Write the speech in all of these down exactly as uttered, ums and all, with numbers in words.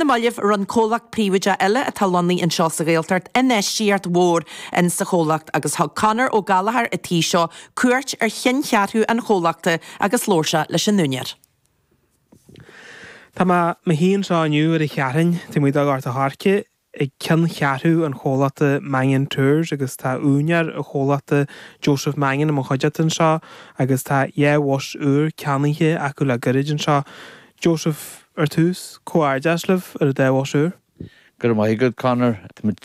Na mallaibh rinne comhlacht príobháideach eile atá lonnaithe anseo sa Ghaeltacht infheistíocht mhór in sa chomhlacht agus thug Conor Ó Gallchóir a tí seo cuairt ar cheanncheathrú an chomhlachta agus labhair sé leis an úinéir. Tá mé i mo shuí anseo inniu ar an Cheathrú taobh amuigh de Ghort an Choirce ag ceanncheathrú an chomhlachta Mannion Tours agus tá úinéir an chomhlachta Joseph Mannion i mo chuideachta anseo agus tá dhá bhus úr ceannaithe acu le gairid anseo. Joseph ar tús comhghairdeas libh ar an dá bhus úr. Go raibh maith agat Conor Táimid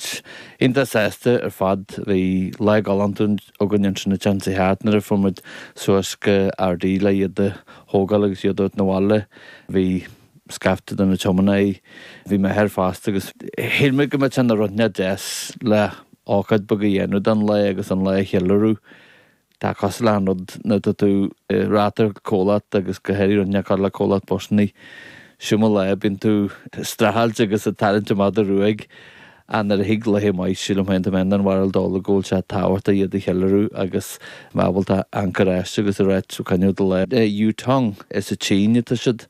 iontach sásta ar fad bhí lá galánta againn ansin an sa cheart nuair a fuair muid suas go Ardee le iad a thógáil agus iad na bhaile bhí scaifte de na tiománaithe bhí mé ar fosta agus shíl mé go mbeadh an rud deas le ócáid beag a dhéanamh don lá agus an lá a cheiliúradh. Tá cosúil le an rud nuair atá tú reathair comhlacht agus go háirithe rud le comhlacht busanna. Siúma lá bíonn tú streachailt agus ag tarraingt amach do ruaig an ar a thig le maith sílim féin mé an bhil dul go bhfuil sé tábhachtach iad a cheiliúradh agus ábalta ancaráiste agus a réit caiú de le Yutong is sa tSín atá siad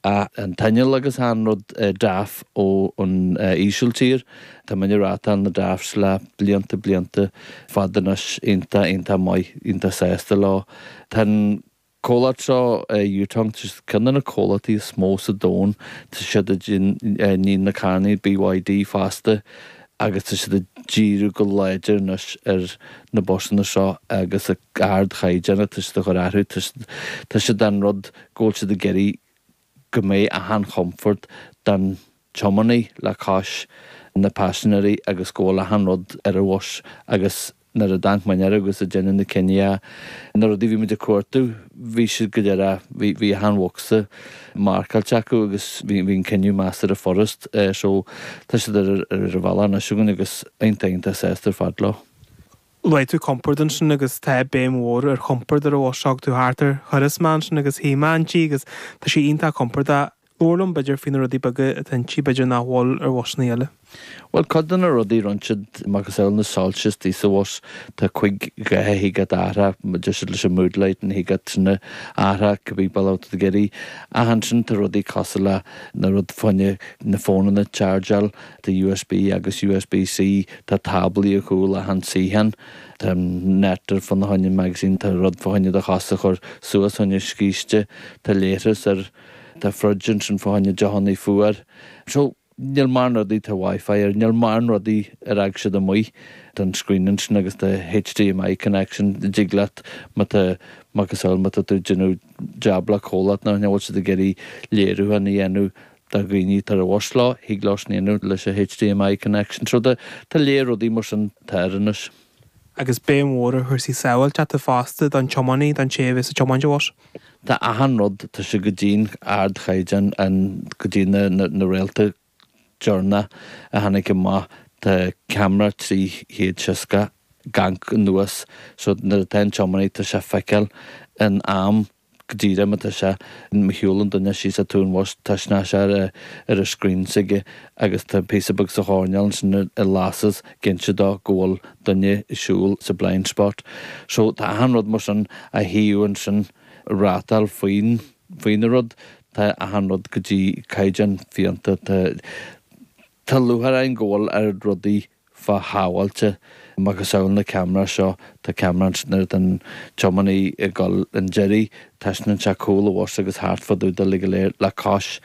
an t-inneall agus an rud DAF ó an Ísiltír Tá muid ag rátáil na DAFs le blianta blianta fada anois iontach iontach maith iontach sásta leo. Tá comhlacht seo Yutong ceann de na comhlachtaí is mó sa domhan tá siad ní na carranna BYD fosta agus tá siad ag díriú go láidir anois ar na busanna seo agus ardchaighdeán tá siad a chur orthu tá siad an rud go bhfuil siad ag iarraidh go mbeidh achan chomfort don tiománaí le cois na paisinéirí agus go bhfuil achan rud ar an bhus agus nuair a d'amharc muid air agus a déanamh na cinntí na rudaí bhí muid ag cuartú bhí siad go léir bhí bhí achan bhocsa marcáilte acu agus bhí bhí an cinneadh measartha furast so tá siad ar ar an bhealach anois againn agus iontach iontach sásta ar fad leo. Luaigh tú compord ansin agus tá béim mhór ar chompord ar an bhus seo tú thart ar thuras mé ansin agus shuigh mé inti agus tá sé iontach compordach Labhair liom b'fhéidir faoi na rudaí beaga atá inti b'fhéidir nach bhfuil ar bhusanna eile. Well cud na rudaí rinne siad macasamhail na soilse istigh sa bhus tá chuig ghethe thig athrá deir leis an mood light an thig sinna athrá go bí bail ag iarraidh ansin tá rudaí cosúil le na rud fá choinne na fónanna chargeáil tá USB agus USB-C tá táblaí a chúl achan suíochán Tá net ar fá choinne magazine tá rud fá choinne do chosa a chur suas fá choinne scíste tá leithreas ar tá fridge ansin fá choinne deochanna fuar. So níl mórán rudaí tá Wi-Fi ar níl mórán rudaí ar ag siad amuigh don screen ansin agus tá HDMI connection dtig leat má tá macasamhail má tá tú déanamh jab le comhlacht nó bhfuil siad ag iarraidh léiriúchán a dhéanamh do dhaoine tar a bhus leo thig leo sin a dhéanamh leis an HDMI connection so tá tá léir rudaí mar sin tá anois. Agus béim mhór ar chúrsaí sábháilteachta fosta don tiománaí don té a bheas ag tiomáint an bhus. Tá achan rud tá sé go dtí ardchaighdeán an go dtí na, na, na réalta deireanach a tháinig amach tá ceamara trí chéad seasca amharc anuas so nuair atá an tiománaí tá sé feiceáil in am go díreach má tá sé má shiúlann duine síos an tóin bhus tá sé ar ar a screen s'aige agus tá píosa beag sa choirnéal ansin i lasas cinnte dó go bhfuil duine ag siúl sa blind spot. So tá achan rud mar sin a shuíomh ansin rátáil faoin faoina rud tá achan rud go dtí caighdeán fiánta tá Tá lúcháir go bhfuil ar rudaí fá shábháilte macasamhail na ceamara seo tá ceamara nuair den tiománaí ag dul an deiridh taispeánann sé cúl an bhus agus thart fá dtaobh de go léir le cois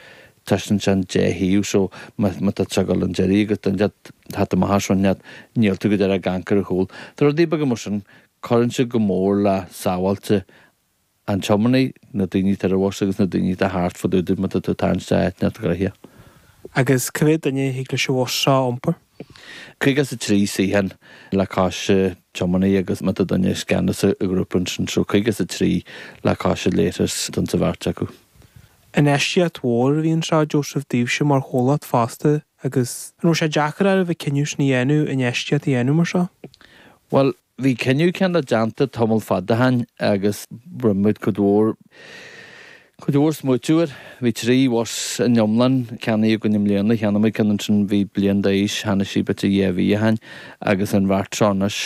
taispeánann sé an deich thaobh so má tá tú ag dul an deiridh agus duine tá amach sin níl tú go deireadh ag amharc ar a chúl. Tá rudaí beaga mar sin cuireann sé go mór le sábháilte an tiománaí na daoine tar a bhus agus na daoine atá thart fá dtaobh má tá tú tarraingt áit gnoitheach. Agus cá mhéad duine thig leis an bhus seo iompar. Caoga is a trí suíochán le cois tiománaí agus má tá duine i gceannas i ngrúpa ansin so caoga is a trí le cois leithreas don sa bheirt acu. Infheistíocht mhór a bhí anseo Joseph daoibhse mar chomhlacht fosta agus an raibh sé deacair oraibh an cinneadh sin a dhéanamh infheistíocht a dhéanamh mar seo? Well, bhí cinneadh ceann déanta tamall fada ó shin agus rinne muid cuid mhór Cuid mhór smaoitiú air bhí trí bhus in iomlán ceannaithe againn i mbliana cheannaigh muid ceann ansin bhí bliain d'aois cheannaigh sí b'fhéidir dhá mhí ó shin agus an bheirt seo anois